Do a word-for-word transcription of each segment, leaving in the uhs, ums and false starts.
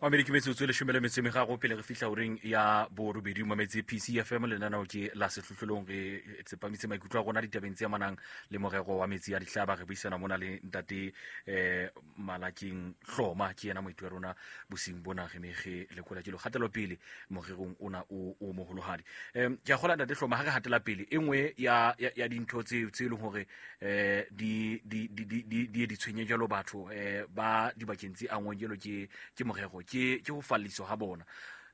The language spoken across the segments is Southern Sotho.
Mamedi ke metsotso e leshome le metso e meraro pele re fihla horeng ya borobedi mametse P C F M lenaneo ke la sehlohlolong re tsepamitse maikutlo a rona ditabeng tse amanang le morero wa metsi a dihlaba. Re buisana mona le ntate eh Malakeng Hloma, ke yena moeti wa rona bosiung bona re me re lekola ke lo kgatelopele morerong ona o o moholohadi. Em ke a kgola ntate Hloma ha re hatela pele e nngwe ya ya dintho tse tse leng hore eh di di di di di di tshwenye jalo batho eh ba dibakeng tse angwang jalo ke ke morero ke ke ho falliswa ha bona.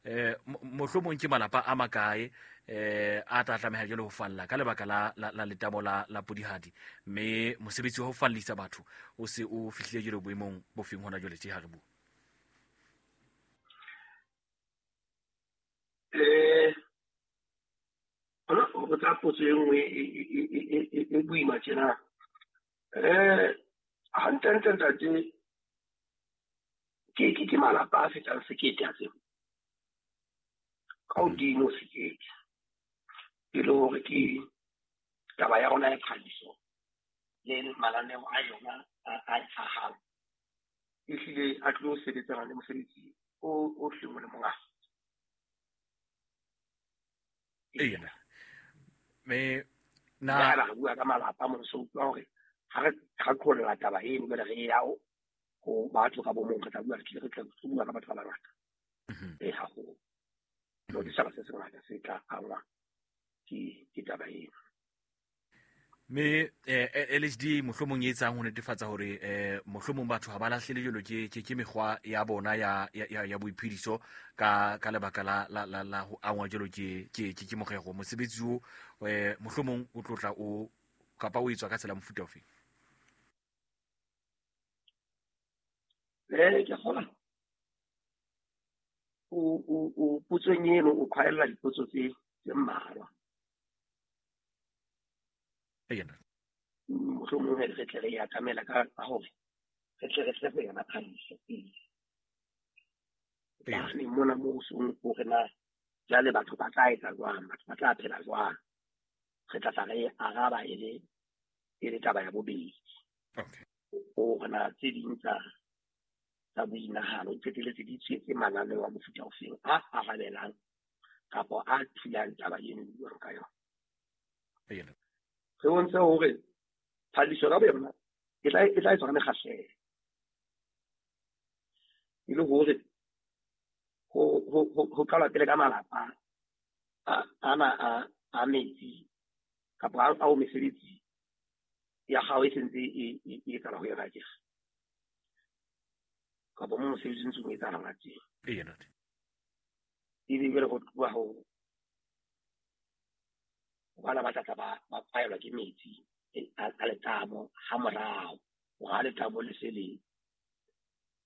Eh mohlomong ke malapa a makae eh a tla tlameha jalo ho falla ka lebaka la la letamo la la Podihadi, mme mosebetsi wa ho fallisa batho o se o fihlile jalo boemong bo feng hona jwale tje ha re bua? Eh hona ho tla potso e nngwe e boima tjena. Eh hantle ntate ke ke ke malapa a fetang sekete a tseo ka hodimo sekete e le hore ke taba ya rona ya phadiso le mananeo a yona a tlhahang ehlile a tlo sebetsana le mosebetsi o o hleng o le mongata. Eya me na re bua ka malapa mo so utlwa hore ha re qholla taba eno jwale re ya ho batho ka bo mong re tla bua re tlile re tla bua ka batho ba bangata e haholo lo ditjhaba se sengata se tla angwa ke ke taba eno. Me eh L H D mohlomong e etsang ho netefatsa hore eh mohlomong batho ha ba lahlele jalo ke ke mekgwa ya bona ya ya ya boiphediso ka ka lebaka la la la la ho angwa jalo ke ke ke morero mosebetsi o eh mohlomong o tlotla o kapa o etswa ka tsela mofuta ofe? Eh ke kgola o o o potsong eno o khwaella dipotso tse tse mmalwa. Eya mohlomong re tle re ya kamela ka hore re tle re tle go yona phadiso pele. Ee mona mo song hore na jwale batho ba tla etsa jwang, batho ba tla phela jwang, re tla tla re araba e le e le taba ya bobedi. Okay hore na tse ding tsa tsa boinahano di qetelletse di tshwetse mananeo a mofuta ofeng a arabelang kapa a thulang taba eno e buang ka yona. Eya re bontshe hore phadiso ka boyona e tla e tla etswa ka mekgahlelo e le hore ho ho ho qalwa pele ka malapa a ana a a metsi kapa ao mesebetsi ya hao e sentse e e etsahala ho yona tje kapa mo mosebetsi o ntseng o etsahala teng. Eya ntate ebe jwale ho tloha ho bana ba tla ba ba paelwa ke metsi a letamo ha morao hore ha letamo le se le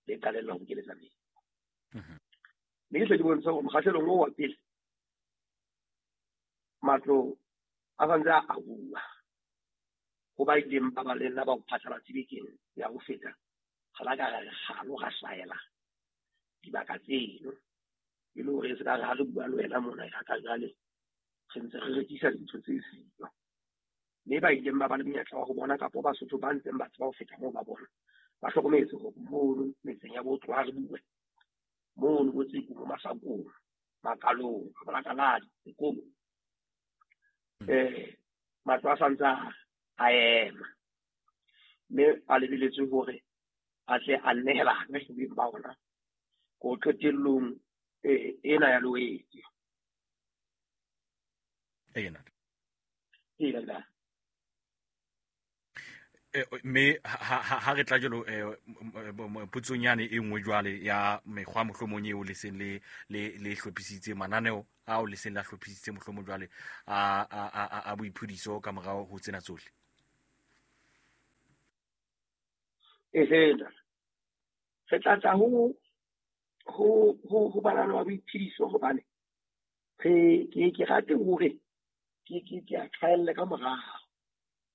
le qalella ho bokeletsa metsi. Mme ke hle ke bontsha hore mokgahlelong oo wa pele matlo a santse a ahuwa ho ba ileng ba ba le nna ba ho phatlalatse bekeng ya ho feta ga la ka ra re kgalo ra hlaela dibaka tseno e le hore se ka re ha re bua le wena mona ya ka jwale re ntse re rekisa dintho tse siyo. Mme ba ileng ba ba le monyetla wa ho bona kapa Basotho ba ntseng ba tseba ho feta moo ba bona ba hlokometse hore mono metseng ya botho ha re bue mono bo Tseku, mo Masakong, Makalong, Molakaladi, Sekobo eh matlo a santse a ema mme a lebeletswe hore a tle a nehelane beng ba ona ko qetellong ena ya Loetse. Eya Eya mme ha re tla jalo potsong yane e nngwe jwale ya mekgwa mohlomong eo le seng le le le hlophisitse mananeo ao le seng la hlophisitse mohlomong jwale a a a boiphediso ka morao ho tsena tsohle. Ehe re tla tla ho ho ho ho mananeo a boiphediso hobane re ke ke rate hore ke ke ke a tshwaelle ka morao.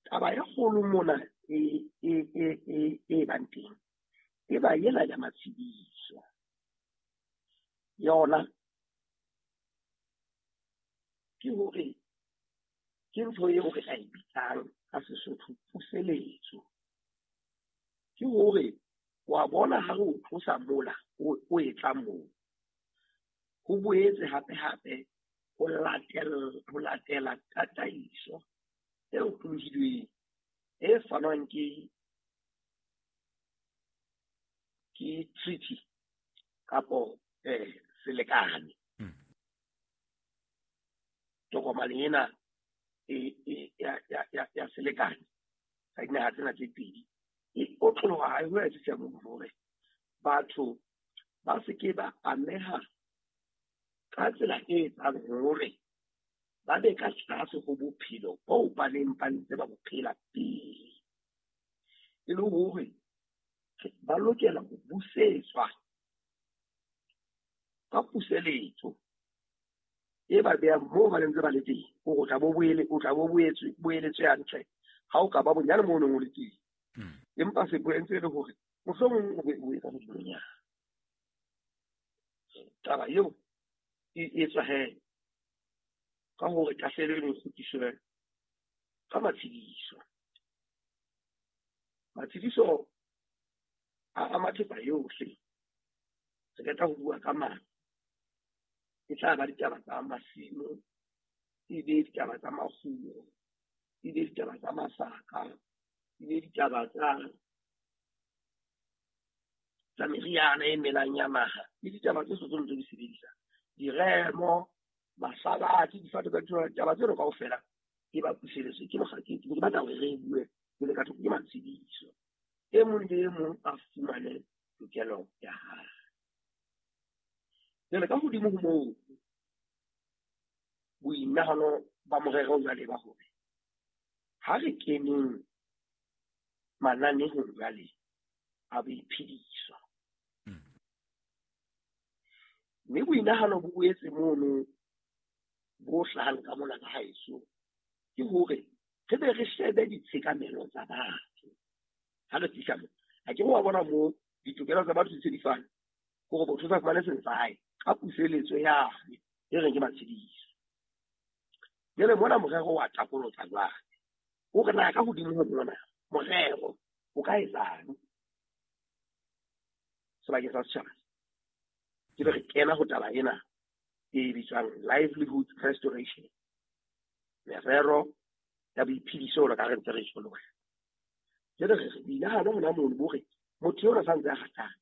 Taba e kgolo mona e e e e e bang teng e ba ela ya matshediso yona ke hore ke ntho eo re ka e bitsang ka Sesotho puseletso. Ke hore Wa bona ha re o tlosa mola o etla moo, ho boetse hape hape ho latela ho latela tataiso e otlolohileng e fanwang ke ke treaty kapo eh selekane. Tokomane ena e e ya ya ya ya selekane sa dinaha tsena tse pedi e otloloha ha ho etse hore batho ba se ke ba ameha ka tsela e etsang hore ba be ka tlase ho bophelo bo ba neng ba ntse ba bo phela pele, e le hore ba lokela ho busetswa ka puseletso e ba behang moo ba ntse ba le teng, hore o tla bo boele o tla bo boetswe boeletswe hantle ha o ka ba bonyane moo o neng o le teng. Empa se boentse le hore mohlomong o be o etsa hodimonyana. Taba eo e etswa he ka hore tahlehelo eno e kgutliswe ka matshediso. Matshediso a ama thepa yohle. Re qeta ho bua ka matlo, e tla ba ditaba tsa masimo, e be ditaba tsa makgulo, e be ditaba tsa masaka, e be ditaba tsa tsa meriana e melang ya naha, le ditaba tse tsohle ntse di sebedisa, diremo, mahlabathe, difate tsa ditholwana, ditaba tseno kaofela e ba puseletso. Ke mokga ke ke batla hore re bue pele ka thoko ke matshediso. E mong le e mong a fumane tokelo ya hae. Jwale ka hodimo ho moo, boinahano ba morero jwale ba hore ha re keneng mananehong jwale a boiphediso. Mme boinahano bo boetse mono bo hlahang ka mona ka haeso ke hore re be re shebe ditshekamelo tsa batho. Ha re fihla moo, ha ke wa bona moo ditokelo tsa batho di se di fana, hore motho o sa fumane seng sa hae ka puseletso yane e reng ke matshediso. Jwale mona morero wa takolotsa jwale, o re na ka hodimo ho mona morero o ka etsang sebakeng sa setjhaba. Ke be re kena ho taba ena e bitswang livelihood restoration, merero ya boiphediso jwalo ka re ntse re tjho le wena. Jwale re re boinahano hona mono bo re motho eo sa ntse a ratang,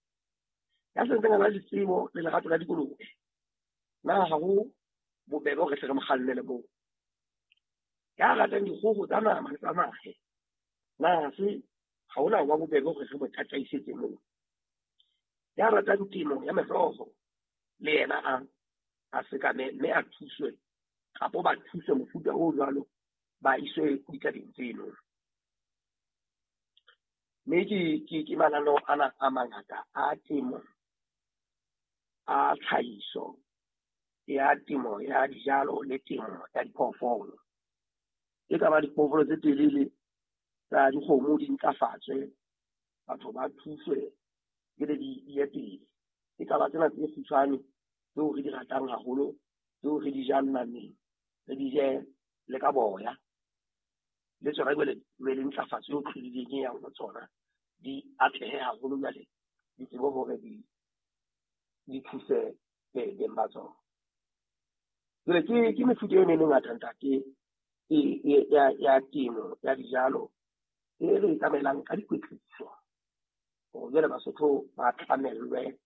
ya santseng a na le tsebo le lerato la dikolobe, na ha ho bobebe hore re hle re mo kgannele moo? Ya ratang dikgoho tsa nama le tsa mahe, na se ha hona ho ba bobebe hore re mo tataisetse moo? Ya ratang temo ya meroho le yena a a sekame mme a thuswe kapo ba thuswe mofuta o jwalo, ba iswe ditabeng tseno. Mme ke ke ke mananeo ana a mangata a temo, a tlhahiso ya temo ya dijalo le temo ya diphoofolo. E ka ba diphoofolo tse telele tsa dikgomo di ntlafatswe, batho ba thuswe jwale di ye pele. E ka ba tsena tse kgutshwane tseo re di ratang haholo, tseo re di jang nameng, re di je le ka boya, le tsona jwale be le ntlafatso e tlhodileng e yang ho tsona, di atlehe haholo jwale di tsebe hore di di thuse beng ba tsona. Jwale ke ke mefuta eno e mengata ntate e ya ya temo ya dijalo e re e tsamaelang ka dikwetliso, hore jwale Basotho ba tlamellwe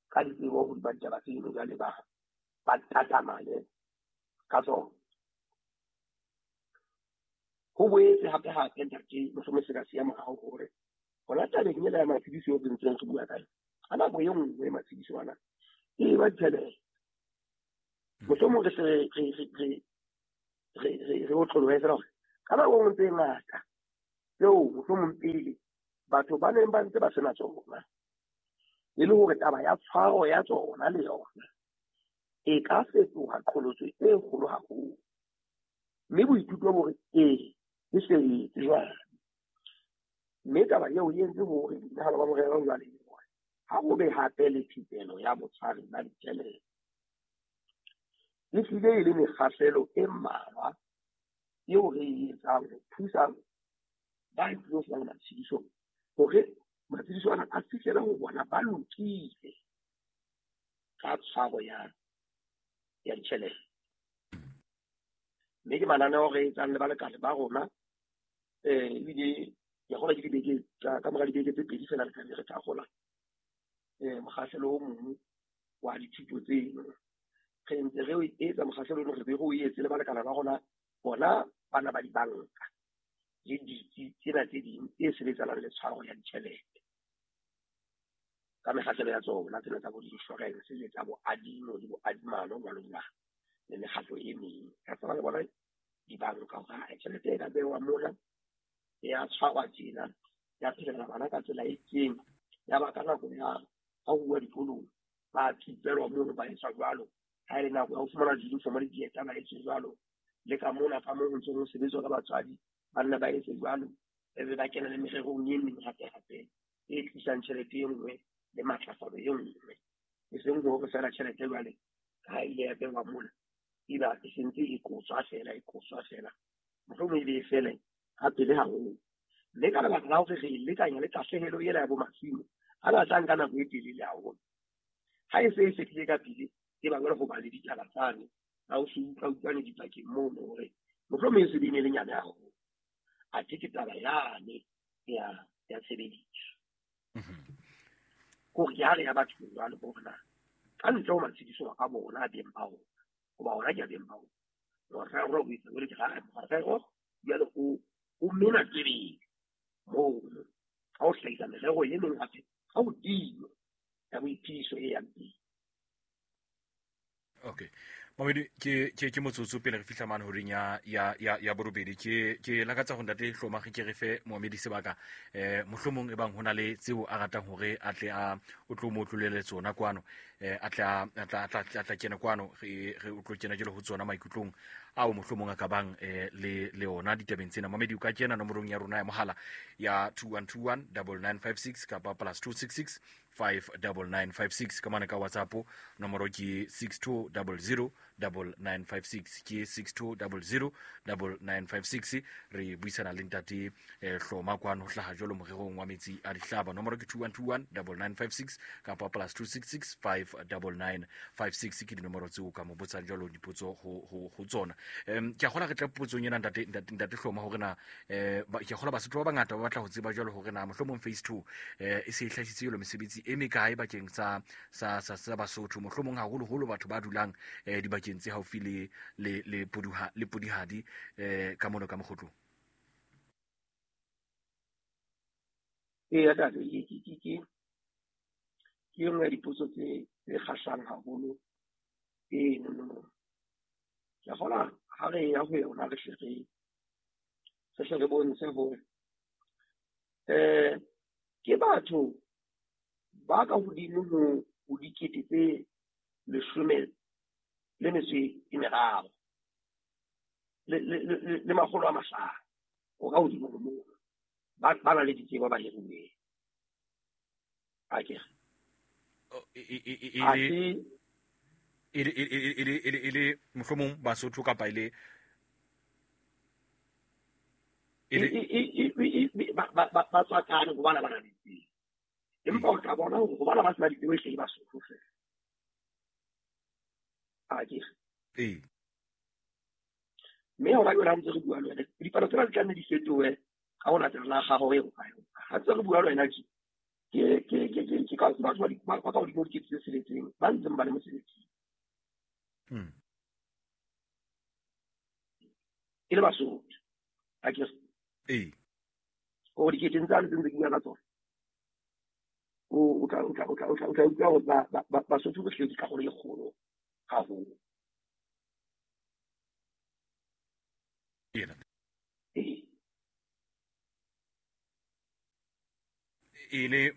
ka ditsebo hodima ditaba tseno, jwale ba ba tatamale ka tsona. Ho boetse hape hape ntate mohlomong se ka siya morao hore hona tabeng ena ya matshediso eo re ntseng re bua ka yona, ka nako e nngwe matshediso ana e ba ditjhelete. Mohlomong re se re re re re re re otlolohe fela hore ka nako e nngwe tse ngata tseo mohlomong pele batho ba neng ba ntse ba sena tsona, e le hore taba ya tshwaro ya tsona le yona e ka fetoha qholotso e kgolo haholo. Mme boithuto bo re ee e se etse jwale. Mme taba eo e entse hore boinahano ba morero jwale ha ho be hape le thupelo ya botshwari ba ditjhelete. E hlile e le mekgahlelo e mmalwa eo re e etsang ho thusa ba tlilo fumana matshediso hore Matshediso ana a fihlela ho bona ba lokile ka tshwaro ya ya ditjhelete. Mme ke mananeo re etsang le balekane ba rona, eh ebile ke a kgolwa ke dibeke tsa ka mora dibeke tse pedi fela re tlabe re tla eh mokgahlelo o mong wa dithuto tseno. Re ntse re o etsa mokgahlelo ono, re be re o etse le balekane ba rona bona bana ba dibanka le ditsi tsena tse ding tse sebetsanang le tshwaro ya ditjhelete ka mekgahlelo ya tsona tsena tsa bo di-insurance le tsa bo adimo le bo adimano jwalo jwalo le mekgatlo e meng. Ka tseba le bona dibanka hore tjhelete e ka behwa mona ya tshwarwa tjena, ya phelela bana ka tsela e itseng, ya ba ka nako ya ha ho uwa dikolong ba thupelwa mono ba etswa jwalo. Ha e le nako ya ho fumana di-uniform le dieta ba etse jwalo. Le ka mona ka moo ho ntse ho sebetswa ka batswadi ba nna ba etse jwalo, ebe ba kena le mererong e meng hape-hape e tlisang tjhelete e nngwe le matlafalo e nngwe. E seng hore feela tjhelete jwale ha ile ya behwa mona eba e sentse e qotswa feela, e qotswa feela, mohlomong e be e fele ha pele haholo. Mme ka lebaka la hore re e lekanya le tahlehelo ena ya bo masimo a batlang ka nako e telele haholo, ha e se e fedile ka pele e ba jwale ho ba le ditaba tsane tsa ho se utlwa utlwane dipakeng mono hore mohlomong e se be e ne le nyane haholo, athe ke taba yane ya ya tshebediso. Hore ke ha re ya bathong jwale hore na ka ntle ho matshediso a bona a beng ba rona, hoba ona ke a beng ba rona, morero o etsa jwale ke ra morero jwale o o mena tsebeng mono ka ho hlahisa merero e meng hape ka hodimo ya boiphediso e yang pele. Okay. Mamedi ke ke ke motsotso pele re fihla mane horeng ya ya ya ya borobedi. Ke ke lakatsa ho ntate Hloma ke re fe moamedi sebaka eh mohlomong e bang hona le tseo a ratang hore a tle a o tlo mo tlolele tsona kwano, eh a tla a tla a tla tla kena kwano re re o tlo kena jelo ho tsona maikutlong ao mohlomong a ka bang eh le le ona ditabeng tsena. Mamedi o ka kena nomorong ya rona ya mohala ya two one two one nine nine five six kapa plus two six six five nine nine five six ka mane ka WhatsApp nomoro ke six two zero zero nine nine five six ke six two zero zero nine nine five six. Re buisana le ntate eh, Hloma kwano ho hlaha jwalo morerong wa metsi a dihlaba. Nomoro ke two one two one nine nine five six kapa plus two six six five nine nine five six ke dinomoro tseo ka mo botsang jwalo dipotso ho ho ho tsona. Em ke a kgola re tla potsong ena ntate ntate Hloma hore na eh ke a kgola Basotho ba bangata ba batla ho tseba jwalo hore na mohlomong phase two eh e se e hlahisitse jwalo mesebetsi e mekae bakeng sa sa sa sa Basotho, mohlomong haholoholo batho ba dulang eh dibakeng tse haufi le le le poduha le podihadi eh ka mono ka Mokgotlong. Ee, ntate, ke ke ke ke ke nngwe ya dipotso tse tse kgahlang haholo eno no. Ke a kgolwa ha re ya ho yona re hle re re hle re bontshe hore eh ke batho ba ka hodimo ho ho dikete tse leshome le metso e meraro le le le le makgolo a mahlano o ka hodimo ho moo ba ba na le ditsebo ba hiruweng. Akere e e e e e le mohlomong Basotho kapa ile e e ba ba ba tswakane hobane ba na le ditsebo, empa o tla bona hore hobane ba sena ditsebo e hle ke Basotho feela. Akere ee. Mme hona jwale ha ntse re bua le wena, dipalo tsena di tla nne di fetohe ka ho latela la gago e ho kae. Ha ntse re bua le wena tje ke ke ke ke ke ka batho ba ba ka hodimo dikete tse tsheletseng ba ntseng ba le mosebetsing mm e le Basotho. Akere ee. O dikete tse ntseng ke bua ka tsona o o tla o tla o tla o tla o tla utlwa hore ba ba Basotho ba hleki karolo e kgolo haholo. Ena Ee. E le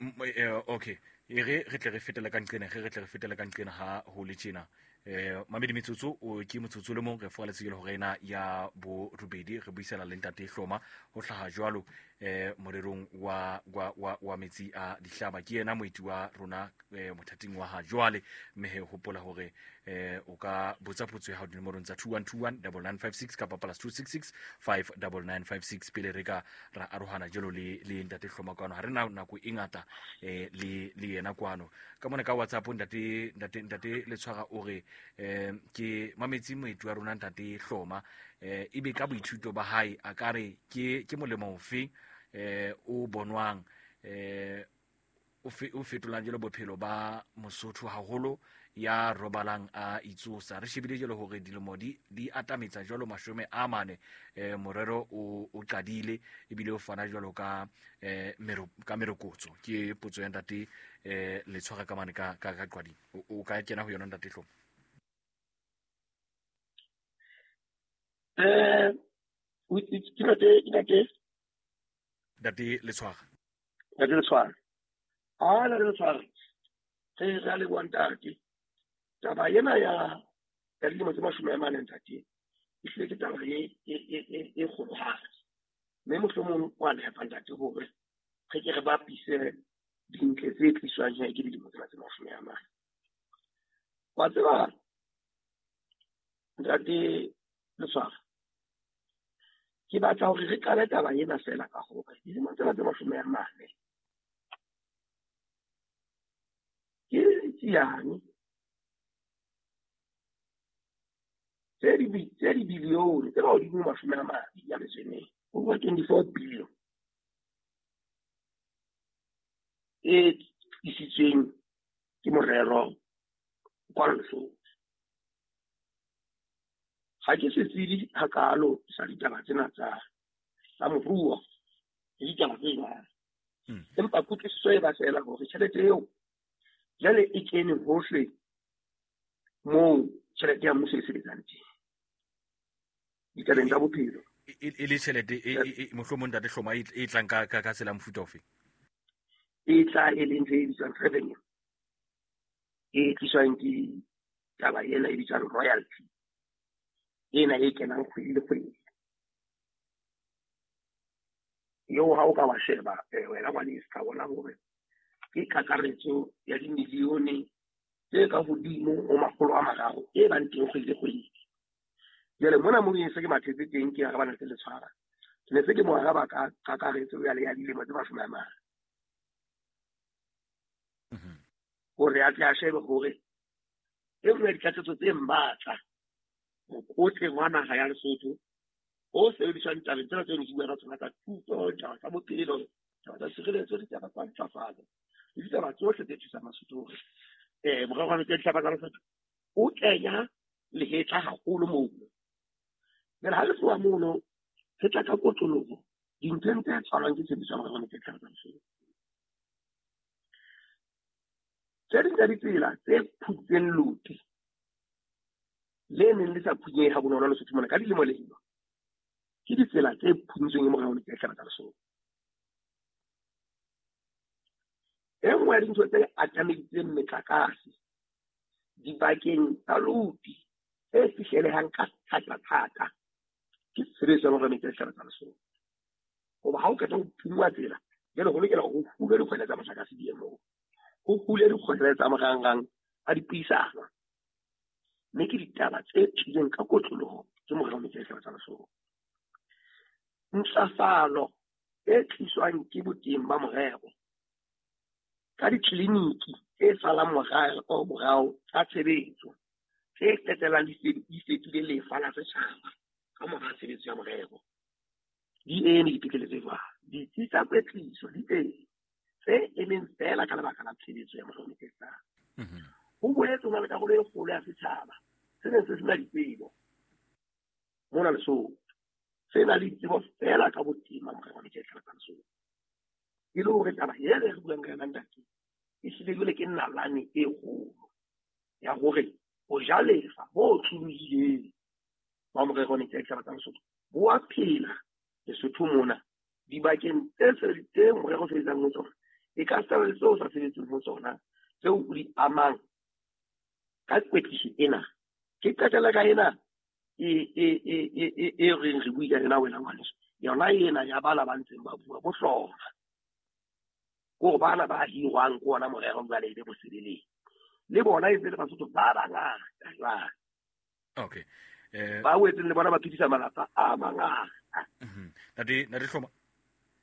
okay e re re tle re fetele ka nqena re re tle re fetele ka nqena ha ho le tjena eh mamedi metsotso o ke motsotso le mong re fola tsela hore ena ya bo robedi re buisana le ntate Hloma ho hlaha jwalo eh morerong wa wa wa, wa metsi a dihlaba. Ke yena moeti wa rona eh, mothating wa ha jwale, mme he hopola hore eh o ka botsa potso ya hao dinomorong tsa two one two one double nine five six kapa plus two six six five double nine five six pele re ka ra arohana jalo le le ntate Hloma kwano. Ha re na nako e ngata eh le le yena kwano ka mona ka WhatsApp. Ntate ntate ntate Letshwara o re eh ke mametsi moeti wa rona ntate Hloma, eh ebe ka boithuto ba hae a ka re ke ke molemo ofe eh o bonwang eh o o fetolang jalo bophelo ba Mosotho haholo ya robalang a itsosa. Re shebile jalo hore dilemo di di atametsa jalo mashome a mane, eh morero o o qadile ebile o fana jalo ka eh mero ka merokotso. Ke potso ya ntate eh Letshwara ka mane ka ka ka qwading. O ka kena ho yona ntate Hloma? Eh ke ntate ntate Ntate Letshwara. Ntate Letshwara. Ah, ntate Letshwara. Re re le bua ntate. Taba ena ya ya dilemo tse mashome a mane ntate, e hlile ke taba e e e e kgolohadi. Mme mohlomong wa nepa ntate hore re ke re bapise dintle tse tliswang ke dilemo tsena tse mashome a mane. Wa tseba ntate Letshwara, ke batla hore re qale taba ena feela ka hore dilemo tsena tse mashome a mane ke tsiane tse di tse di bilione tse hodimo mashome a mabedi a metso e mene, over twenty-four billion e tlisitsweng ke morero kwa Lesotho. Ha ke setsebi hakalo sa ditaba tsena tsa tsa moruo le ditaba tse jwalo, empa kutlwisiso e ba feela hore tjhelete eo jwale e kene hohle moo tjhelete ya mmuso e sebetsang teng ditabeng tsa bophelo. E le tjhelete e mohlomong ntate Hloma e tlang ka ka tsela mofuta ofe? E tla e leng ntho e bitswang revenue, e tliswang ke taba ena e bitswang royalty, ena e kenang kgwedi le kgwedi. Eo ha o ka wa sheba wena ngwaneso, ka bona hore ke kakaretso ya dimilione tse ka hodimo ho makgolo a mararo e bang teng kgwedi le kgwedi. Jwale mona moo ke se ke mathetse teng ke arabana le Letshwara, ke ne se ke mo araba ka kakaretso ya le ya dilemo tse mashome a mane, hore a tle a shebe hore e nngwe ya ditlatsetso tse matla mokotleng wa naha ya Lesotho o sebediswang tabeng tsena tseo re bua ka tsona tsa thuto, ditaba tsa bophelo, ditaba tsa tshireletso, ditaba tsa ntlafatso le ditaba tsohle tse thusang Basotho hore eh morero wa metsi a dihlaba tsa Lesotho o kenya lehetla haholo moo. Jwale ha re tloha mono re tla ka kotloloho dinthong tse tshwarwang ke tshebediso ya morero wa metsi a dihlaba tsa Lesotho. Tse ding tsa ditsela tse phutseng loti le neng le sa phunyehe ha bonolo Lesotho mona ka dilemo lemo ke ditsela tse phuntsweng ke morero wa metsi a dihlaba tsa Lesotho. E nngwe ya dintho tse atameditseng metlakase dibakeng tsa loti tse fihlelehang ka thata-thata ke tshebediso ya morero wa metsi a dihlaba tsa Lesotho. Hoba ha o qeta ho phunngwa tsela, jwale ho lokela hore ho hulwe dikgwele tsa motlakase di ye moo, ho hule dikgwele tsa marangrang a dipuisano. Mme ke ditaba tse tlileng ka kotloloho ke morero wa metsi a dihlaba tsa Lesotho. Ntlafalo e tliswang ke boteng ba morero ka ditleliniki tse salang morao morao tsa tshebetso tse qetellang di fetile lefa la setjhaba ka mora tshebetso ya morero di eme dipetlele tse jwalo. Ditsi tsa kwetliso di teng tse emeng feela ka lebaka la tshebetso ya morero wa metsi a dihlaba. Ho boetse ho na le karolo e kgolo ya setjhaba se neng se sena ditsebo mona Lesotho, se na le ditsebo feela ka boteng ba morero wa metsi a dihlaba tsa Lesotho. E le hore taba ena e re buang ka yona ntate e hlile jwale ke nalane e kgolo ya hore ho ja lefa bo tlolohileng ba morero wa metsi a dihlaba tsa Lesotho bo a phela Lesotho mona dibakeng tse tse morero o sebetsang ho tsona, e ka sala le tseo o sa sebetseng ho tsona tseo o di amang ka kwetliso ena. Ke qetela ka ena e e e e e reng re bue ka yona wena ngwaneso, Yona ena ya bana ba ntseng ba bua bo hloma. Ko bana ba hirwang ko ona morero jwale e be bosebeletsi. Le bona e ntse le Basotho ba bangata jwale. Okay. Eh ba wetseng le bona ba phedisa malapa a mangata. Mhm. Ntate Ntate Hloma.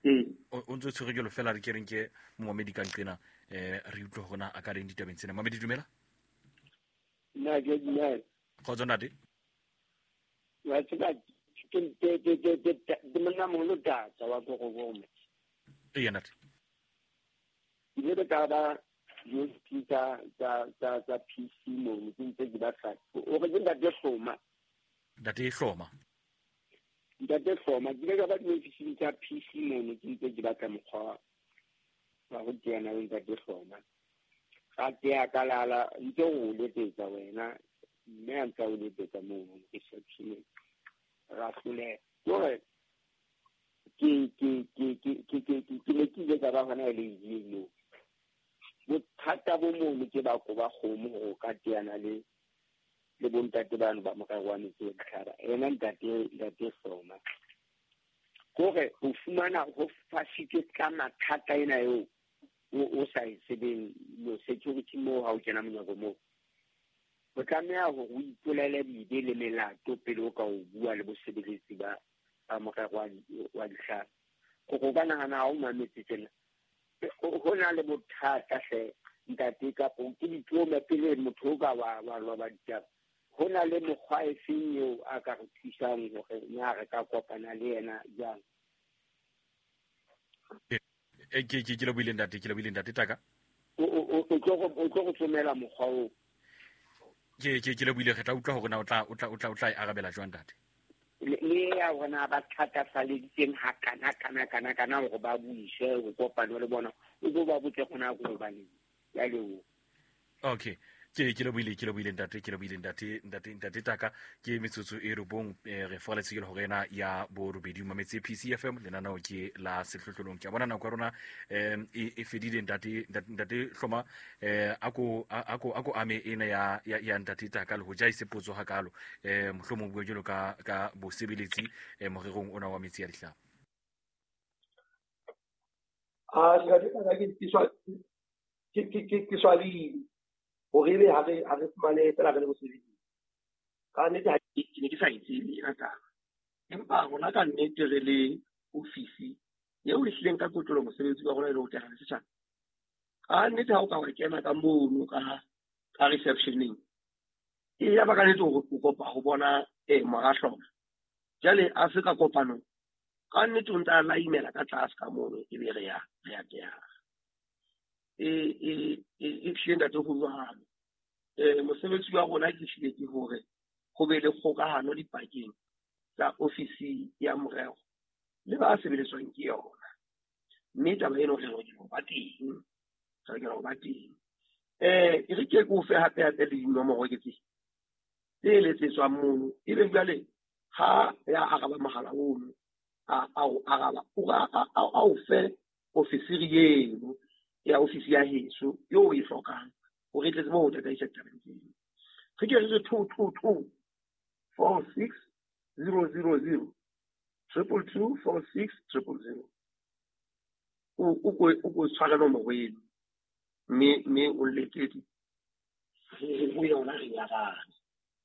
Ee. O ntse o tshwere jwalo fela re ke reng ke momamedi ka nqena eh re utlwe hore na a ka reng ditabeng tsena. Mamedi dumela. Nna ke dumela. Kgotso ntate. Wa tseba ke ke ke ke ke ke monna moholo tata wa Korobome. Ee ntate. Ke ile ka ba di tsa tsa tsa tsa P C mono ke ntse ke batla. O re ke ntate Hloma. Ntate Hloma. Ntate Hloma ke ile ka ba diofising tsa P C mono ke ntse ke batla mokgwa wa ho teana le ntate Hloma. Ka tea ka lala ntse o letsetsa wena mme a ntse o letsetsa mono reception. Ra hloleha. Hore ke ke ke ke ke ke ke ne ke ile ka ba hona le eno. Bothata bo mono ke ba koba kgomo hore o ka teana le le bontate bano ba morero wa metsi wa ditlhaba. Ena ntate ntate Hloma. Kore o fumana ho fasitswe ka mathata ena eo o o sa e tsebeng lo security moo ha o kena monyako moo. O tlameha hore o ipolele dibe le melato pele o ka o bua le bosebeletsi ba ba morero wa wa ditlhaba. Gore o ka nahana ha o mametse tjena. Ho na le bothata hle ntate kapo ke ditlome pele motho o ka wa wa loba ditaba. Ho na le mokgwa e feng eo a ka re thusang hore na re ka kopana le yena jwang? E ke ke ke le buile ntate, ke le buile ntate Taka. O o o tlo go o tlo go tsomela mokgwa oo. Ke ke ke le buile re tla utlwa hore na o tla o tla o tla o tla e arabela jwang ntate. Le ya rona ba thatafalleditseng hakana kana kana kana hore ba buise ho kopana le bona o bo ba botse gona go hobaneng. Ya leboha. Okay. Ke ke le buile ke le buile ntate ke le buile ntate ntate ntate Taka ke metsotso e robong re foraletse ke hore ena ya borobedi mametse P C F M lenaneo ke la sehlohlolong. Ke a bona nako ya rona em e fedile ntate ntate Hloma eh ako ako ako ame ena ya ya ntate Taka le ho ja ise potso hakalo eh mohlomong bua jalo ka ka bosebeletsi morerong ona wa metsi ya dihlaba. Ah ntate Taka ke ke ke ke ke swabile hore ebe ha re ha re fumane fela re le bosebetsi. Ka nnete ha ke ne ke sa e tsebe ena taba. Empa rona ka nnete re le ofisi eo e hlileng ka kotlolo mosebetsi wa rona e le ho teana le setjhaba. Ka nnete ha o ka wa kena ka mono ka ka receptioneng e ya ba ka nnete hore o kopa ho bona eh mora Hloma. Jwale a se ka kopanong ka nnete o ntse a laimela ka tlase ka mono ebe re ya re ya teana. E e e hlile ntate ho jwalo. Eh mosebetsi wa rona ke hlile ke hore ho be le kgokahano dipakeng tsa ofisi ya morero le ba sebeletswang ke yona. Mme taba eno re lokela ho ba teng. Re lokela ho ba teng. Eh e re ke ke o fe hape hape le dinomoro ke tse tse letsetswang mono. Ebe jwale ha ya araba mohala ono a a o araba o a o fe ofisiri eno ya ofisi ya heso yo o e hlokang hore e tle tsebe ho tataisa ditabeng tseno. Re ke re two two two four six zero zero zero triple two four six triple zero. O o ko o ko tshwara nomoro eno mme mme o letsetse ho yona re ya rana.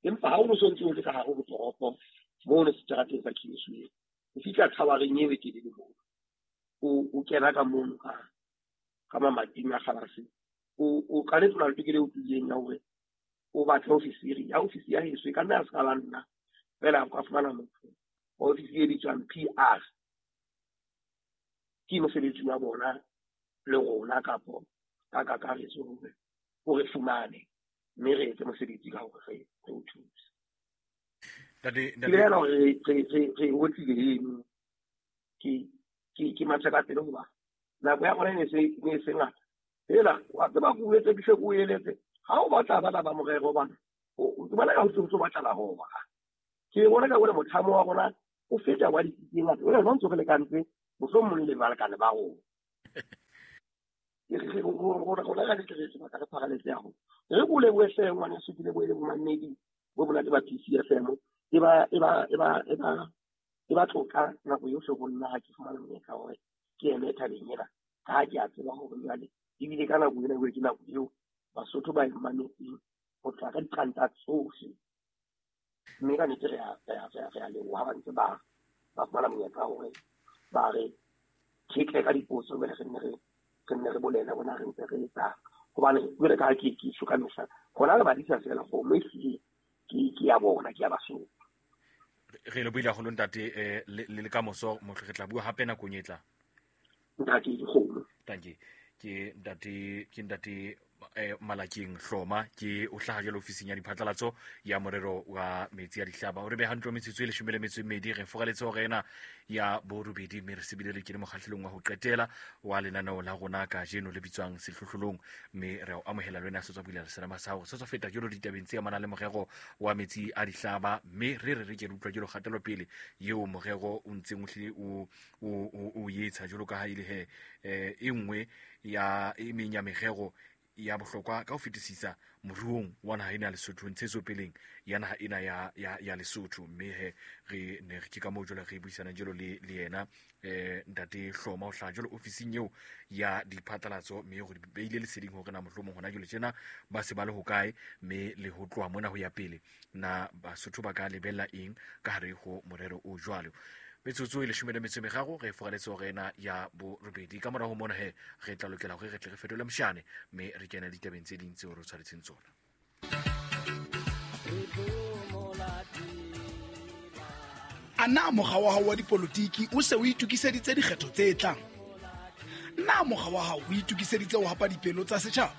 Empa ha o no sontse o le ka hare ho toropo mono seterateng sa Kingsway o fihla thawareng eo e telele mono o o kena ka mono ka ka mamating a kgalase o o ka nnete o na le tokelo e utlwileng ya hore o batle ofisiri ya ofisi ya heso e ka nna ya se ka ba nna fela o ka fumana motho wa ofisi e bitswang P R ke mosebetsi wa bona le rona kapo ka kakaretso hore o re fumane mme re etse mosebetsi ka hore re re o thuse. Ntate Ke bolela hore re re re otlile eno ke ke ke matha ka pele hoba nako ya rona e ne se ne se ngata. Fela wa tseba ke o etse ke hle ke o eletse ha o batla bana ba morero bana o bona ka ho tso batla la hoba. Ke bona ka hore mothamo wa rona o feta wa ditsi tse ngata. Wena o ntse re lekantse mohlomong le balekane ba rona. Ke re rona rona ka nnete re sebaka re pharaletse ya rona. Re ko lebohe hle ngwaneso, ke lebohe le bomamedi bo monate ba P C F M. E ba e ba e ba e ba E ba tlotla nako yohle ho nna ha ke fumana monyetla hore ke eme thabeng ena, ka ha ke a tseba hore jwale ebile ka nako ena ke nako eo Basotho ba e mametseng ho tloha ka diqanta tsohle. Mme ka nnete re a re a leboha ba ntse ba ba fumana monyetla hore ba re khetle ka dipotso, jwale re nne re re nne re bolele bona re ntse re etsa. Hobane jwale ka ha ke ke tjho ka mehla, hona re badisa feela kgomo ehlile ke ke ya bona, ke ya Basotho. Re lebohile haholo ntate, eh, le le ka moso mohle re tla bua hape nakong e tlang. Ntate dikgomo. Tanki ke ntate ke ntate eh, Malakeng Hloma, ke o hlaha jalo ofising ya diphatlalatso ya morero wa metsi a dihlaba. O re beha ntlo metsotso e leshome le metso e mmedi, re foraletse hore ena ya borobedi, mme re sebile le kene mokgahlelong wa ho qetela wa lenaneo la rona kajeno le bitswang Sehlohlolong, mme re o amohela le wena a setswa bulela selema sa hao se tswa feta jalo ditabeng tse amanang le morero wa metsi a dihlaba, mme re re re ke re utlwa jalo kgatelopele eo morero o ntseng o hlile o o o etsa jalo ka ha e le he eh, e nngwe ya e meng ya merero ya bohlokwa ka ho fetisisa moruong wa naha ena ya Lesotho, ntshetsopeleng ya naha ena ya, ya, ya Lesotho. Mme he re ne re ke ka moo jwale re buisana jalo le, le yena eh, ntate Hloma o hlaha jalo ofising eo ya diphatlalatso, mme hore beile leseding hore na mohlomong hona jwale tjena ba se ba le hokae, mme le ho tloha mona ho ya pele na Basotho ba ka lebella eng ka hare ho morero o jwalo. Metsotso e leshome le metso e meraro re foraletse hore ena ya borobedi. Ka morao ho mona he re tla lokela hore re tle re fetole moshane, mme re kene ditabeng tse ding tseo re tshwaretseng tsona. A na mokga wa hao wa dipolotiki o se o itokiseditse dikgetho tse tlang? Na mokga wa hao o itokiseditse ho hapa dipelo tsa setjhaba?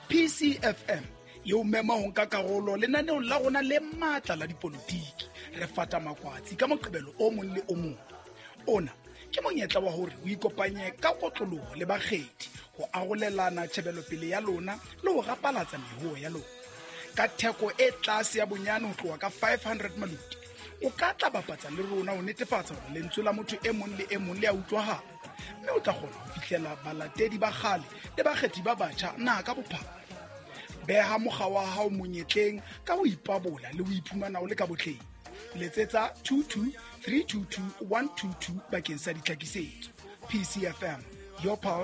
P C F M e o mema ho nka karolo lenaneong la rona le matla la dipolotiki. Re fata makwatsi ka Moqebelo o mong le o mong. Ona ke monyetla wa hore o ikopanye ka kotloloho le bakgethi ho arolelana tjhebelopele ya lona le ho rapalatsa mehoo ya lona. Ka theko e tlase ya bonyane ho tloha ka five hundred maloti, o ka tla bapatsa le rona ho netefatsa hore lentswe la motho e mong le e mong le a utlwahala, mme o tla kgona ho fihlela balatedi ba kgale le bakgethi ba batjha naha ka bophara. Beha mokga wa hao monyetleng ka ho ipabola le ho iphumana o le ka botleng. Letsetsa two two three two two one two two bakeng sa ditlhakisetso. P C F M, your pulse.